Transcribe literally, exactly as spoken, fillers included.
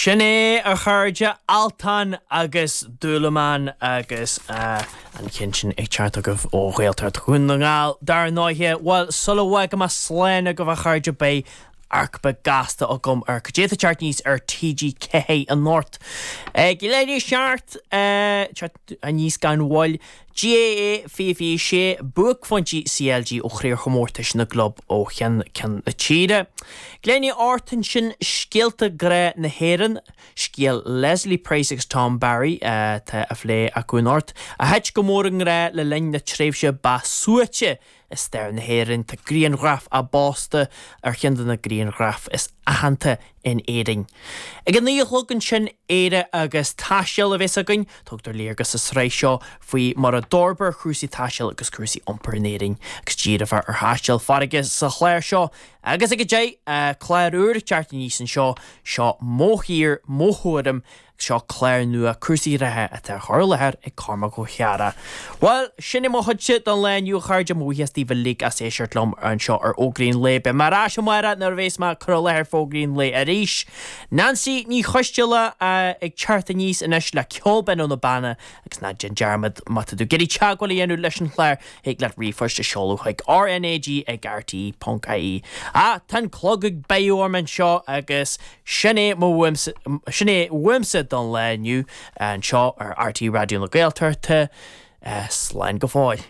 Sin é a chairde Altan agus Dúlamán agus uh, an ceann sin ag teacht agaibh ó Ghaeltacht Dhún na nGall dar ndóigh bhuel sula bhfágfaidh mé slán agaibh a chairde beidh amharc beag gasta agam ar cad é atá ag teacht aníos ar TG Ceathair anocht. Ag leathuair tar éis seacht teacht aníos gan mhoill GAA fiche fiche sé buaicphointí CLG ó chraobhchomórtais na gclub ó cheann ceann na tíre. Glenny Orton sin scéalta grá na hÉireann, scéal Leslie Price agus Tom Barry tá á phlé acu anocht, a thit go mór i ngrá le linn na tréimhse ba suaite i stair na hÉireann tá grianghraf a bpósta ar cheann de na grianghraif is aitheanta in Éirinn. Ag a naoi a chlog ansin Éire agus taisteal a bheas againn, tugtar léargas sa tsraith seo faoi mar a d'fhorbair cúrsaí taistil agus cúrsaí iompair in Éirinn, agus díreofar ar thaisteal farraige sa chlár seo, agus ag a deich clár úr ag teacht aníos anseo seo Mo Thír Mo Thuairim seo clár nua cúrsaí reatha atá á chur i láthair ag Cormac Ó Ceara. Well, sin é mo chuidse don lá inniu a chairde mo bhuíochas daoibh uilig as éisteacht liom anseo ar Fhógraí an Lae. Beidh mé ar ais amárach nuair a bheas mé ag cur i láthair Fógraí an Lae arís. Nancy Ní Choisteala ag teacht aníos anois le ceol binn ó na Beanna agus ná déan dearmad má tá tú ag iarraidh teagmháil a dhéanamh leis an chlár thig leat ríomhphost a seoladh chuig RNAG ag RTE ponc IE. Ah, tá an clog ag béiceadh orm anseo agus sin é mo sin é uaimse don lá inniu anseo ar RTÉ Raidió na Gaeltachta slán go fóill.